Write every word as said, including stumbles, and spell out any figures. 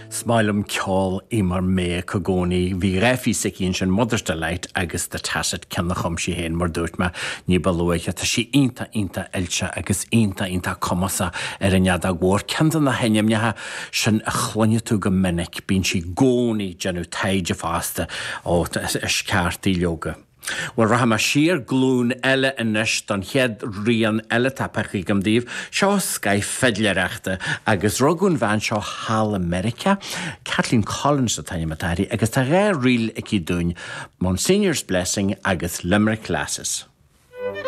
Is maith liom ceol Eimear Mayock i gcónaí, bhí dhá phíosa aici ansin Mother's Delight agus The Tacet ceann a chum sí féin mar dúirt mé ní ba luaithe. Tá sí iontach iontach oilte agus iontach iontach cumasach ar an fheadóg mhór. Ceann de na hainmneacha sin a chluineann tú go minic, bíonn sí i gcónaí ag déanamh taighde fosta ó is ceart í leoga. Bhuel rachaidh mé siar glúin eile anois don chéad rian eile atá pioctha agam daoibh, seo scoth fidléireachta agus rugadh an bhean seo thall i Meiriceá, Kathleen Collins an t-ainm atá uirthi agus tá dhá ríl aici dúinn, Monsignor's Blessing agus Limerick Lasses.